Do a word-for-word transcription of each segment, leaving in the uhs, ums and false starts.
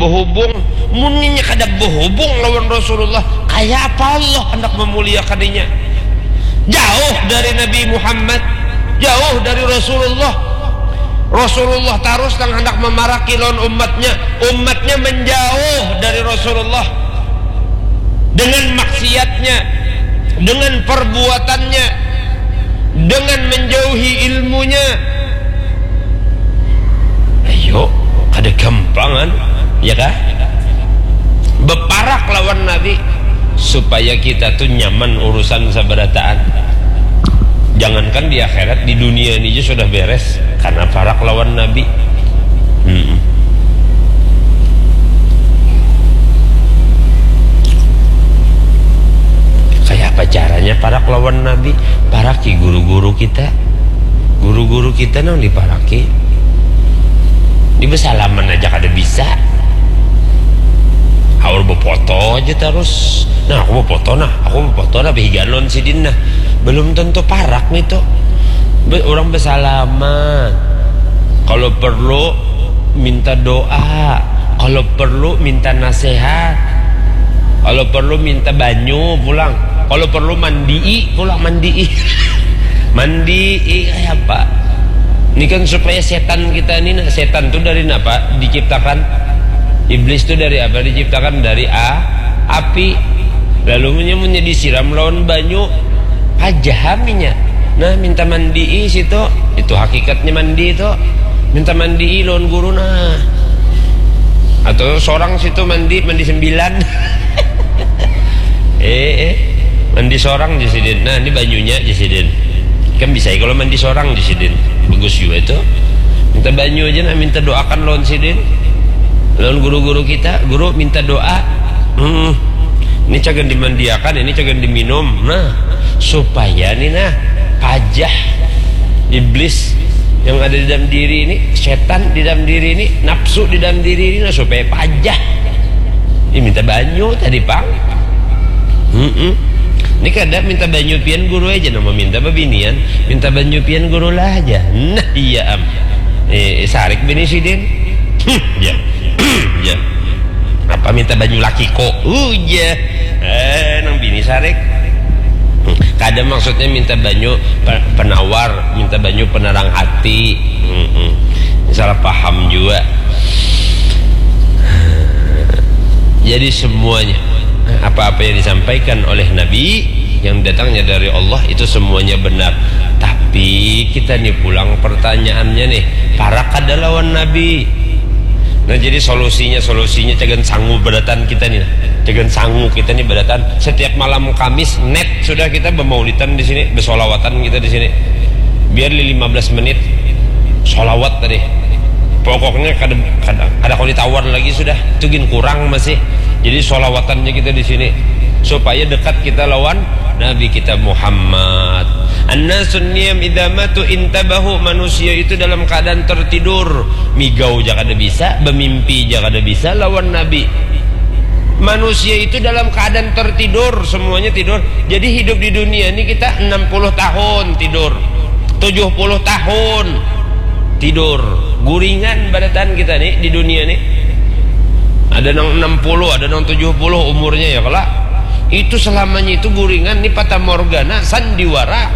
Hubung, munnya kada bahubung lawan Rasulullah, kaya apa Allah hendak memuliakan inya? Jauh dari Nabi Muhammad, jauh dari Rasulullah. Rasulullah tarus nang hendak memaraki lawan umatnya, umatnya menjauh dari Rasulullah dengan maksiatnya, dengan perbuatannya, dengan menjauhi ilmunya. Ayo, kada gampangan, ya kah? Beparak lawan Nabi supaya kita tuh nyaman urusan sabarataan. Jangankan di akhirat, di dunia ini aja sudah beres karena parak lawan Nabi. Mm-mm. Kayak apa caranya parak lawan Nabi? Paraki guru-guru kita. Guru-guru kita nang diparaki. Ini bersalaman aja kada bisa. Awal befoto aja terus. Nah, aku befoto nah, aku befoto nah, behiganon sidin nah. Belum tentu parak nih tuh. Be- orang bersalaman. Kalau perlu minta doa, kalau perlu minta nasihat, kalau perlu minta banyu pulang, kalau perlu mandii pulang, mandii. Mandii kayak apa? Ini kan supaya setan kita ini, nah, setan tuh dari apa diciptakan? Iblis tuh dari apa diciptakan? Dari a api. Lalu munnya, munnya disiram lawan banyu, pajahaminya. Nah, minta mandii situ, itu hakikatnya mandi itu. Minta mandii lawan guru nah. Atau seorang situ mandi, mandi sembilan. Eh, eh. Mandi seorang aja sidin. Nah, ini banyunya aja sidin. Kan bisa ya kalau mandi seorang aja sidin. Bagus juga itu. Minta banyu aja nah, minta doakan lawan sidin. Lawan guru-guru kita, guru minta doa. Hmm. Ini cagan dimandiakan, ini cagan diminum. Nah, supaya nih nah, pajah iblis yang ada di dalam diri ini, setan di dalam diri ini, nafsu di dalam diri ini, nah, supaya pajah. Ini minta banyu tadi, Pang. Mm-mm. Ini kada minta banyu pian guru aja, nama minta babinian, minta banyu pian guru lah aja. Nah, iya am. Eh, sarik bini sidin. Hmm, ya. Ya. Apa minta banyu laki kok? Uja. Eh, nang bini sarik. Hmm, kada maksudnya minta banyu pe- penawar, minta banyu penerang hati. Mm-mm. Salah paham juga. Jadi semuanya, apa-apa yang disampaikan oleh Nabi, yang datangnya dari Allah, itu semuanya benar. Tapi kita nih pulang pertanyaannya nih, parak kada lawan Nabi? Nah, jadi solusinya, solusinya cagan sangu badatan kita nih. Cagan sangu kita nih badatan. Setiap malam Kamis net sudah kita bermaulidan di sini, bersolawatan kita di sini. Biar li lima belas menit solawat tadi. Pokoknya kada, kada, kada kau ditawar lagi sudah. Itu gin kurang masih. Jadi solawatannya kita di sini supaya dekat kita lawan Nabi kita Muhammad. Annasun niyam idza matu intabahu, manusia itu dalam keadaan tertidur, migau ja kada bisa, bemimpi ja kada bisa lawan Nabi. Manusia itu dalam keadaan tertidur, semuanya tidur. Jadi hidup di dunia ini kita enam puluh tahun tidur, tujuh puluh tahun tidur. Guringan badatan kita nih di dunia nih. Ada nang enam puluh, ada nang tujuh puluh umurnya ya kala. Itu selamanya itu guringan nih, fatamorgana, sandiwara.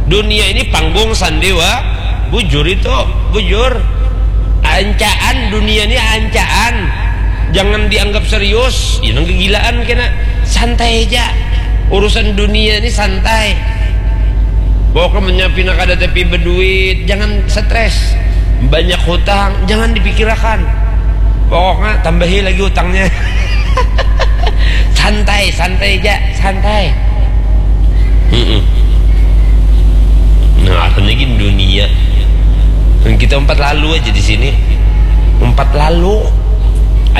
Dunia ini panggung sandiwa, bujur itu, bujur. Ancaan, dunia ini ancaan. Jangan dianggap serius, ini kegilaan kena. Santai aja. Urusan dunia ini santai. Pokoknya menyapina kada tapi berduit, jangan stres. Banyak hutang, jangan dipikirakan. Pokoknya tambahi lagi hutangnya. Santai, santai aja, santai. Mm-mm. Nah, apa lagi dunia? Kita empat lalu aja di sini. Empat lalu.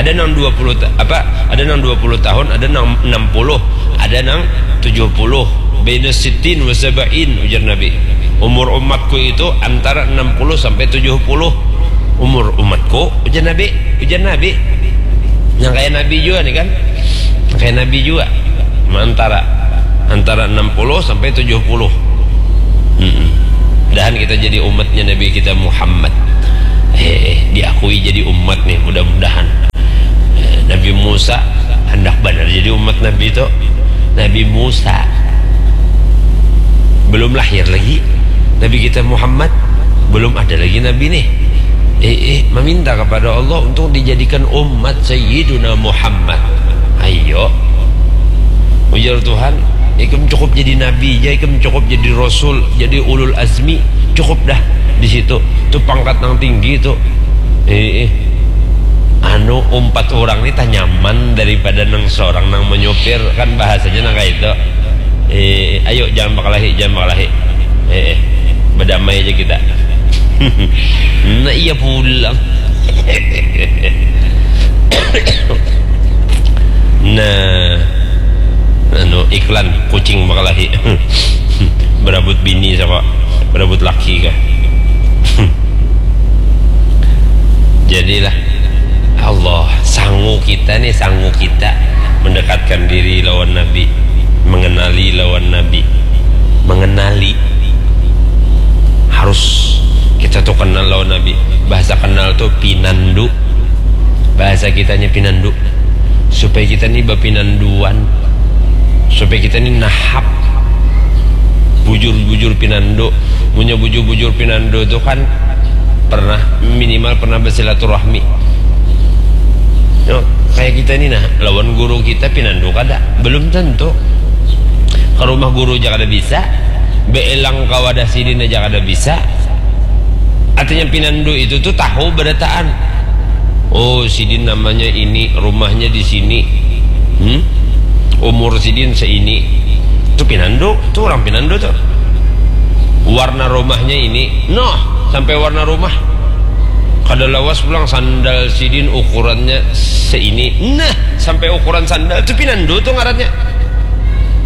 Ada nang dua puluh ta- apa? Ada nang dua puluh tahun, ada nang enam puluh, ada nang tujuh puluh. Baina sittin wa sab'in, ujar Nabi. Umur umatku itu antara enam puluh sampai tujuh puluh. Umur umatku, ujar Nabi, ujar Nabi. Yang kayak Nabi juga nih kan? Yang kayak Nabi juga. Antara antara enam puluh sampai tujuh puluh. Mm-mm. Mudahan kita jadi umatnya Nabi kita Muhammad. Eh, eh, diakui jadi umat nih, mudah-mudahan. Musa, handak banar jadi umat Nabi tu. Nabi Musa belum lahir lagi. Nabi kita Muhammad belum ada lagi Nabi nih. Eh, eh, meminta kepada Allah untuk dijadikan umat Sayyiduna Muhammad. Ayo. Ujar Tuhan, ikam cukup jadi nabi aja, ikam cukup jadi rasul, jadi ulul azmi, cukup dah di situ. Itu pangkat yang tinggi itu. Eh, eh. Anu, umpat orang ni tah nyaman daripada nang seorang nang menyupir, kan bahasanya nang kayak itu. Eh, ayo, jangan bakalahi, jangan bakalahi. Eh, eh. Bedamai aja kita. Nah, iya pulang. Nah, anu, iklan kucing bakalahi. Berabut bini sama berabut laki kah? Jadilah Allah, sangu kita nih, sangu kita mendekatkan diri lawan Nabi, mengenali lawan Nabi, mengenali. Harus kita tuh kenal lawan Nabi. Bahasa kenal tuh pinandu. Bahasa kitanya pinandu. Supaya kita nih bapinanduan. Supaya kita nih nahap. Bujur-bujur pinandu. Punya bujur-bujur pinandu tuh kan pernah, minimal pernah bersilaturahmi. Yo, kayak kita ini nah, lawan guru kita pinandu kada? Belum tentu. Ke rumah guru aja kada bisa, beelang ke wadah sidin aja kada bisa. Artinya pinandu itu tuh tahu berataan. Oh, sidin namanya ini, rumahnya di sini. Hmm? Umur sidin seini. Itu pinandu, tuh orang pinandu tuh. Warna rumahnya ini. Noh, sampai warna rumah. Kada lawas pulang sandal sidin ukurannya seini. Nah, sampai ukuran sandal itu pinandu tuh ngarannya.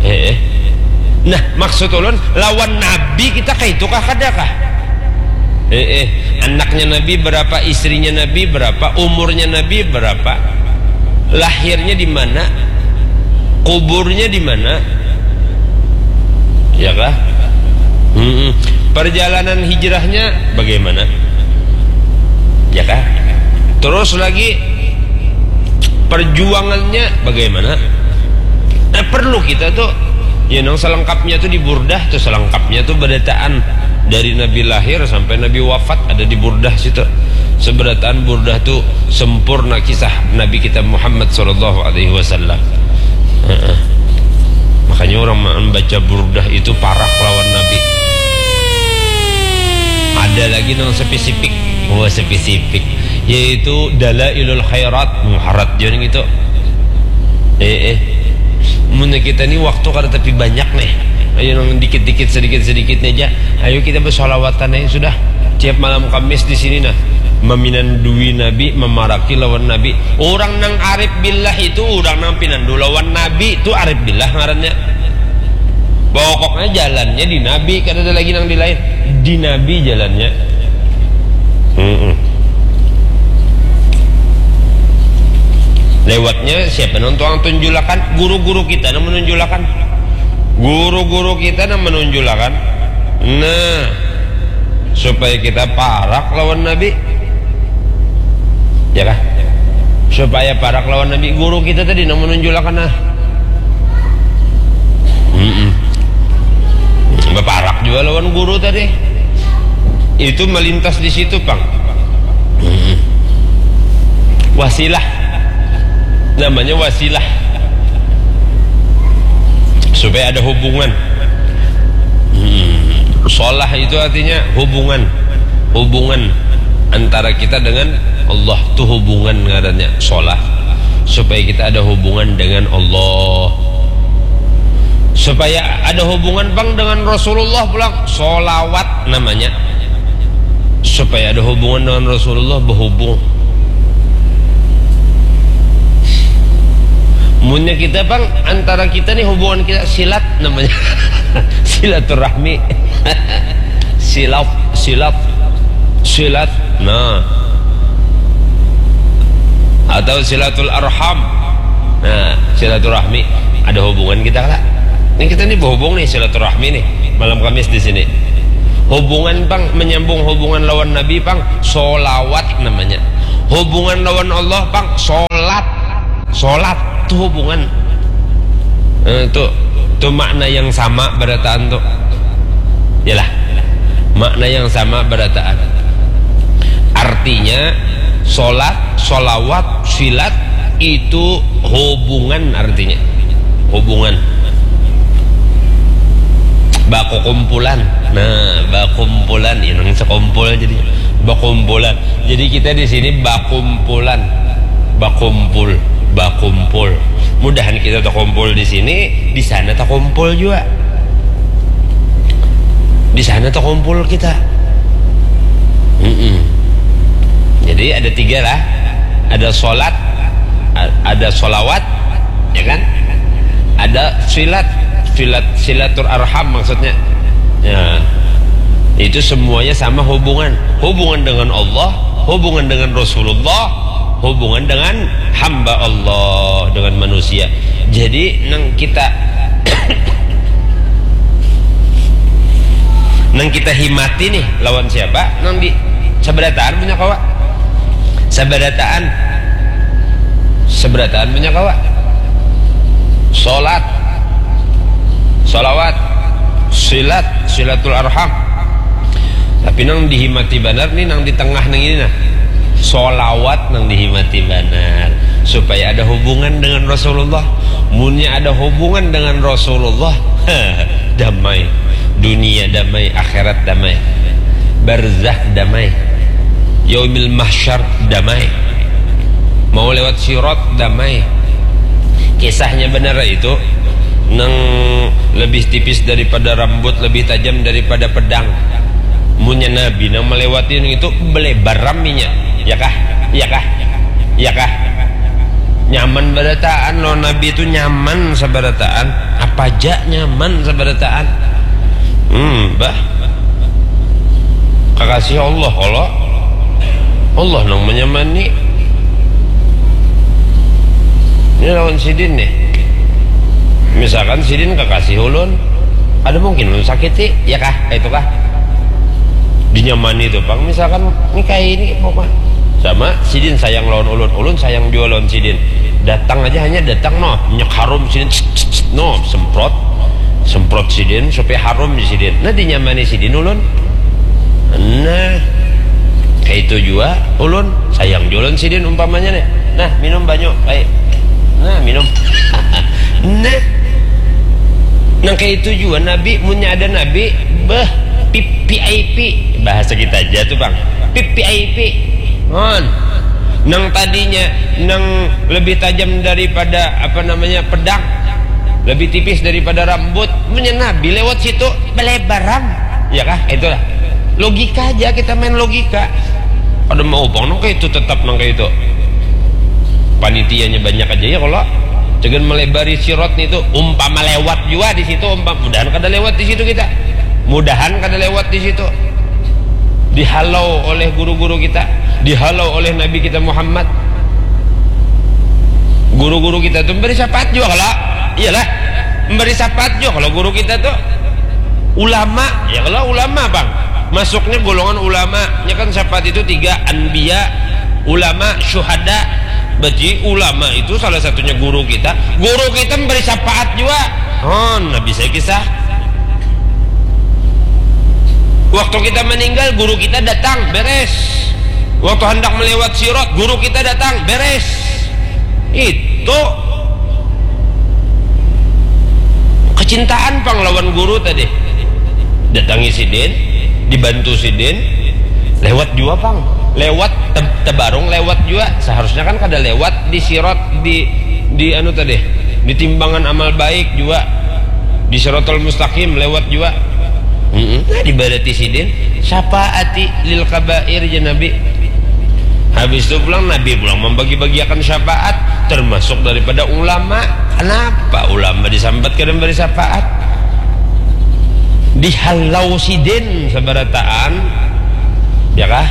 Eh, eh. Nah, maksud ulun, lawan Nabi kita kayak itu kah, kada kah? Eh, eh. Anaknya Nabi berapa, istrinya Nabi berapa, umurnya Nabi berapa, lahirnya di mana, kuburnya di mana, ya kah? Mm-mm. Perjalanan hijrahnya bagaimana, ya kah? Terus lagi, perjuangannya bagaimana? Nah, perlu kita tuh, ya, nang selengkapnya tuh di Burdah tuh, selengkapnya tuh berataan dari Nabi lahir sampai Nabi wafat ada di Burdah situ. Seberataan Burdah tuh sempurna kisah Nabi kita Muhammad sallallahu alaihi wasallam. Heeh. Makanya orang membaca Burdah itu parak lawan Nabi. Ada lagi nang spesifik. Wah, spesifik. Yaitu Dalailul Khairat. Muharat jan gitu. Eh, eh. Mun kita ni waktu kada tapi banyak nih. Ayo nang dikit-dikit, sedikit-sedikit aja. Ayo kita bersolawatan aja sudah. Tiap malam Kamis di sini nah. Meminandui Nabi, memaraki lawan Nabi. Orang nang arif billah itu orang nang pinandu lawan Nabi, itu arif billah ngarannya. Pokoknya jalannya di Nabi, kada ada lagi nang di lain. Di Nabi jalannya. Mm-mm. Lewatnya siapa nang tuang tunjulakan? Guru-guru kita nang menunjulakan. Guru-guru kita nang menunjulakan. Nah, supaya kita parak lawan Nabi. Ya kah? Supaya parak lawan Nabi, guru kita tadi nang menunjulakan nah. Mm-mm. Baparak juga lawan guru tadi. Itu melintas di situ, pang. Mm-mm. Wasilah. Namanya wasilah. Supaya ada hubungan. Hmm. Solah itu artinya hubungan. Hubungan antara kita dengan Allah tuh hubungan ngarannya solah. Supaya kita ada hubungan dengan Allah. Supaya ada hubungan, pang, dengan Rasulullah pulang, solawat namanya. Supaya ada hubungan dengan Rasulullah, berhubung. Munnya kita, pang, antara kita nih hubungan kita silat namanya. Silaturahmi. Silaf, silaf, silat. Nah. Atau silatul arham. Nah, silaturahmi. Ada hubungan kita lah. Ini kita nih berhubung nih, silaturahmi nih, malam Kamis di sini. Hubungan, pang, menyambung hubungan lawan Nabi, pang, solawat namanya. Hubungan lawan Allah, pang, solat. Solat tu hubungan. Eh, tu, tu makna yang sama barataan tu. Yalah. Makna yang sama barataan. Artinya, solat, solawat, silat itu hubungan artinya. Hubungan. Bakukumpulan. Nah, bakumpulan. Ya, nang sekumpul jadi bakumpulan. Jadi kita di sini bakumpulan. Bakumpul, bakumpul. Mudahan kita takumpul di sini, di sana takumpul juga. Di sana takumpul kita. Mm-mm. Jadi ada tiga lah. Ada solat, a-, ada solawat, ya kan? Ada silat, silat, silaturarham maksudnya. Ya. Itu semuanya sama hubungan. Hubungan dengan Allah, hubungan dengan Rasulullah, hubungan dengan hamba Allah, dengan manusia. Jadi nang kita nang kita himati nih lawan siapa? Nang di sabarataan punya kawa. Sabarataan. Sabarataan punya kawa. Solat. Solawat. Silat. Silatul arham. Tapi nang dihimati banar nih nang di tengah nang ini nah. Solawat nang dihimati banar. Supaya ada hubungan dengan Rasulullah. Munnya ada hubungan dengan Rasulullah, damai. Dunia damai, akhirat damai. Barzakh damai. Yaumil mahsyar damai. Mau lewat sirat damai. Kisahnya benar itu, nang lebih tipis daripada rambut, lebih tajam daripada pedang. Munnya Nabi nang melewati nang itu, belebar raminya. Ya kah? Ya kah? Ya kah? Nyaman barataan lo, Nabi itu nyaman sabarataan. Apa aja nyaman sabarataan. Hmm, bah. Kakasih Allah kalau Allah nang menyamani. Ini lawan sidin nih. Misalkan sidin kakasih ulun, ada mungkin ulun sakiti, ya kah? Itu kah? Dinyamani tuh, Bang. Misalkan ini kayak ini, pokoknya sama sidin sayang lawan ulun, ulun sayang juga lawan sidin. Datang aja, hanya datang, noh, minyak harum sidin, tss, tss, tss, noh, semprot, semprot sidin supaya harum di sidin. Nah, dinyamani sidin ulun. Nah, kayak itu juga ulun, sayang juga lawan sidin umpamanya nih. Nah, minum banyu, baik. Nah, minum. Nah, nang kayak itu juga Nabi, munnya ada Nabi, beh, V I P, bahasa kita aja tuh, Bang. V I P. Hon. Nang tadinya nang lebih tajam daripada, apa namanya, pedang, lebih tipis daripada rambut, munnya Nabi lewat situ, belebaran. Ya kah? Itulah. Logika aja, kita main logika. Ada mau bang nang kayak itu, tetap nang kayak itu. Panitianya banyak aja ya kalau jangan melebari sirot nih tuh. Umpama lewat juga di situ, umpama, mudahan kada lewat di situ kita. Mudahan kada lewat di situ. Dihalau oleh guru-guru kita, dihalau oleh Nabi kita Muhammad. Guru-guru kita tuh memberi syafaat juga kalau, iyalah, memberi syafaat juga kalau guru kita tuh. Ulama, ya kalau ulama, Bang, masuknya golongan ulama. Nya kan syafaat itu tiga, anbiya, ulama, syuhada. Berarti ulama itu salah satunya guru kita. Guru kita memberi syafaat juga. Oh, nah, bisa kisah. Waktu kita meninggal, guru kita datang, beres. Waktu hendak melewat sirot, guru kita datang, beres. Itu kecintaan pang lawan guru tadi. Datangi sidin, dibantu sidin, lewat juga pang. Lewat te-, tebarung lewat juga. Seharusnya kan kada lewat di sirot, di, di anu tadi, di timbangan amal baik juga. Di siratal mustaqim lewat juga. Mm-mm. Nah, dibarati sidin, syafaati lil kabair, jar Nabi. Habis itu pulang, Nabi pulang membagi-bagiakan syafaat, termasuk daripada ulama. Kenapa ulama disambat kada memberi syafaat? Dihalau sidin sabarataan, ya kah?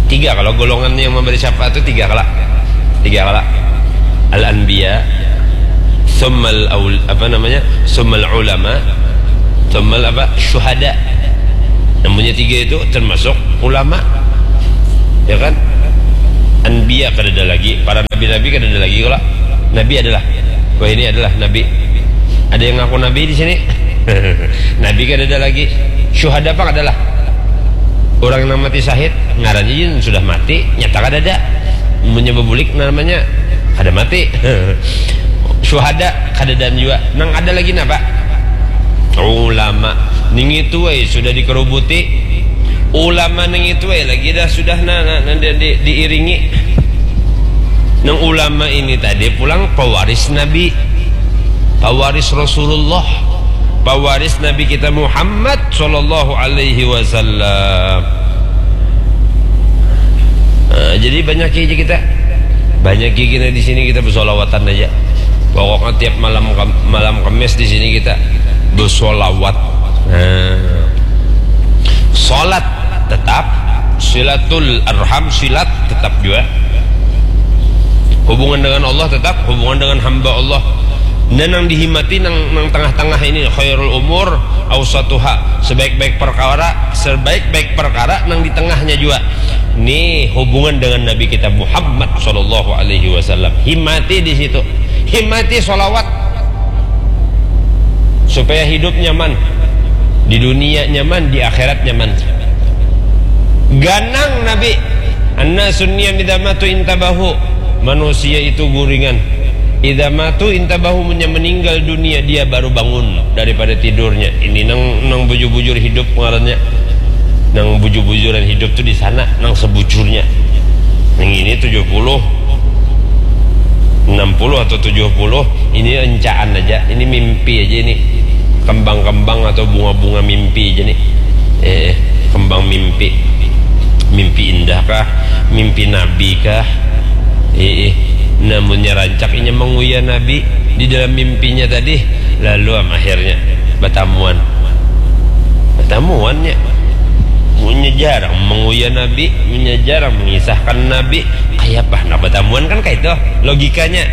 Tiga kalau golongan yang memberi syafaat itu tiga kala. Tiga kala. Al-anbiya, summal aul-, apa namanya? Summal ulama, summal apa? Syuhada. Namanya tiga itu termasuk ulama. Ya kan? Anbiya kadada lagi, para nabi-nabi kadada lagi kalo. Nabi adalah, wah, ini adalah nabi. Ada yang ngaku nabi di sini? Nabi kadada lagi. Syuhada apa kadalah? Orang yang mati syahid, ngarannya yin sudah mati, nyata kadada. Munnya bebulik namanya kada mati. Syuhada kadadaan jua. Nang ada lagi napa? Ulama. Ning itu ai sudah dikerubuti. Ulama ning itu ai lagi dah sudah na, na, na, di, di, diiringi. Nang ulama ini tadi pulang pewaris Nabi, pewaris Rasulullah, pewaris Nabi kita Muhammad sallallahu alaihi wasallam. Nah, jadi banyak aja kita, banyak gigi di sini kita bersolawatan aja. Pokoknya tiap malam Kam- malam Kamis di sini kita bersolawat. Nah, salat tetap, silatul arham, silat tetap juga. Hubungan dengan Allah tetap, hubungan dengan hamba Allah. Dan yang dihimati nang, nang tengah-tengah ini khairul umur ausatuha, sebaik-baik perkara, sebaik-baik perkara nang di tengahnya juga. Nih hubungan dengan Nabi kita Muhammad sallallahu alaihi wasallam. Himati di situ. Himati solawat supaya hidup nyaman di dunia, nyaman di akhirat, nyaman. Ganang Nabi. Anna sunnia midamatu intabahu. Manusia itu guringan. Idza matu intabahu, munnya meninggal dunia dia baru bangun daripada tidurnya. Ini nang nang bujur-bujur hidup ngarannya. Nang bujur-bujuran hidup tuh di sana, nang sebujurnya. Nang ini tujuh puluh, enam puluh atau tujuh puluh, ini encaan aja, ini mimpi aja ini. Kembang-kembang atau bunga-bunga mimpi aja nih. Eh, kembang mimpi. Mimpi indah kah? Mimpi nabi kah? Ii, namunnya rancak inya manguya Nabi di dalam mimpinya tadi, lalu am akhirnya batamuan. Batamuannya. Munnya jarang manguya Nabi, munnya jarang mengisahkan Nabi, kayapa handak batamuan kan kaitu logikanya.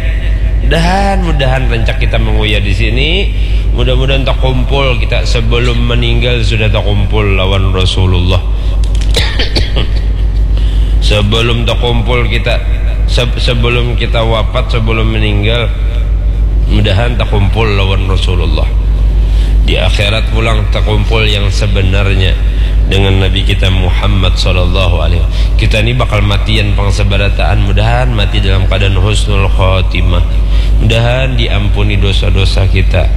Mudahan, mudahan rancak kita manguya di sini, mudah-mudahan takumpul kita sebelum meninggal sudah takumpul lawan Rasulullah. Sebelum takumpul kita, se- sebelum kita wafat, sebelum meninggal, mudahan takumpul lawan Rasulullah. Di akhirat pulang takumpul yang sebenarnya dengan Nabi kita Muhammad sallallahu alaihi wasallam. Kita ni bakal matian pang sabarataan, mudahan mati dalam keadaan husnul khatimah. Mudahan diampuni dosa-dosa kita.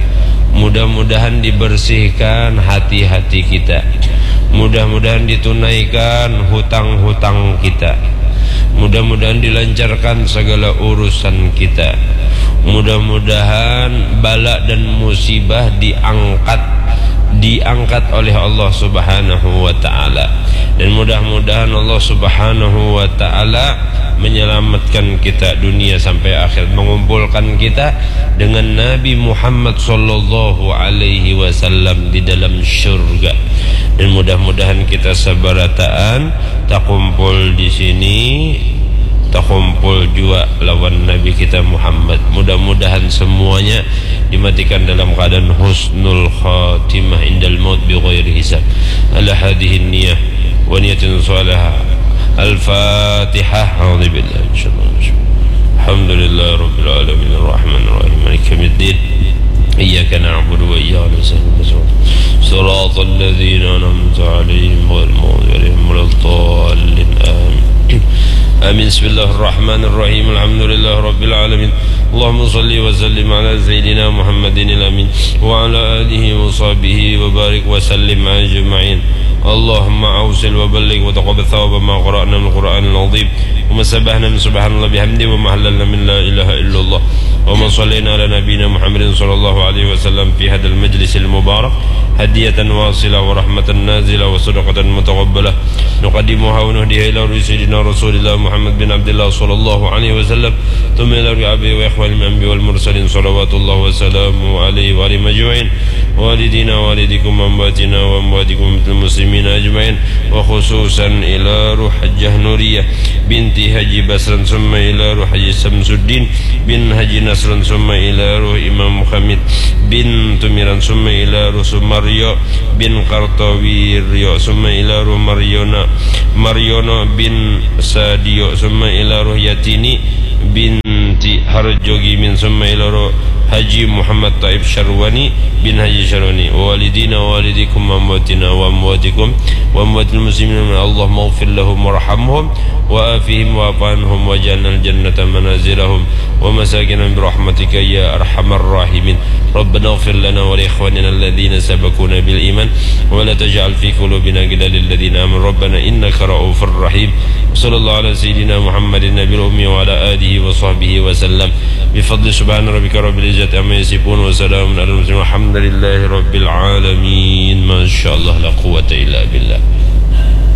Mudah-mudahan dibersihkan hati-hati kita. Mudah-mudahan ditunaikan hutang-hutang kita. Mudah-mudahan dilancarkan segala urusan kita. Mudah-mudahan bala dan musibah diangkat, diangkat oleh Allah Subhanahu wa taala. Dan mudah-mudahan Allah Subhanahu wa taala menyelamatkan kita dunia sampai akhir, mengumpulkan kita dengan Nabi Muhammad sallallahu alaihi wasallam di dalam syurga. Dan mudah-mudahan kita sabarataan takumpul di sini, takumpul jua lawan Nabi kita Muhammad. Mudah-mudahan semuanya dimatikan dalam keadaan husnul khatimah indal maut bi ghairi hisab. Ala hadhihi niyah wa niyatin salihah. Al-Fatihah. A'udzubillahi minasyaitonir rajim. Alhamdulillahi rabbil alamin, arrahmanir rahim, maliki yaumiddin. Iyyaka na'budu wa iyyaka nasta'in. Siratal ladzina an'amta 'alaihim ghairil maghdubi 'alaihim waladdallin. Amin. Amin. Bismillahirrahmanirrahim. Alhamdulillahi rabbil alamin. Allahumma salli wa sallim ala sayyidina Muhammadinil amin wa ala alihi wa sahbihi wa barik wa sallim ajma'in. Allahumma awsil wa balligh wa taqabbal thawaba ma qara'na min Qur'anil azim wa ma sabbahna min subhanallah bihamdi wa ma hallalna min la ilaha illallah wa ma sallaina ala nabiyyina Muhammadin sallallahu alaihi wasallam fi hadzal majlisil mubarak hadiyatan wasilah wa rahmatan nazilah wa sadaqatan mutaqabbalah nuqaddimuha wa nuhdiha ila ruhi sayyidina Rasulillah Muhammad bin Abdillah sallallahu alaihi wasallam, tsumma ila ruhi abihi wa الأنبياء والمرسلين، صلوات الله وسلامه عليه وعليهم أجمعين، والدينا ووالديكم وأمواتنا وأمواتكم وأموات المسلمين أجمعين، وخصوصا إلى روح حجة نورية بنت حجي بصران، ثم إلى روح حجي شمس الدين بن حجي نصران، ثم إلى روح إمام خميس بن تميران، ثم إلى روح سمريو بن قرطويريو، ثم إلى روح مريونا، مريونو بن ساديو، ثم إلى روح ياتيني بنت حرجوجيمين، ثم إلى روح حجي محمد طيب شرواني بن حجي شرواني، ووالدينا ووالديكم وأمواتنا وأمواتكم وأموات المسلمين، اللهم اغفر لهم وارحمهم وعافهم واعف عنهم واجعلنا الجنة منازلهم ومساكنهم برحمتك يا أرحم الراحمين. ربنا اغفر لنا ولإخواننا الذين سبقونا بالإيمان ولا تجعل في قلوبنا غلا للذين آمنوا ربنا إنك رؤوف رحيم. وصلى الله على سيدنا محمد النبي الأمي وعلى آله وصحبه وسلم. بفضل سبحان ربك رب العزة عما يصفون وسلام على المرسلين والحمد لله رب العالمين. ما شاء الله، لا قوة إلا بالله.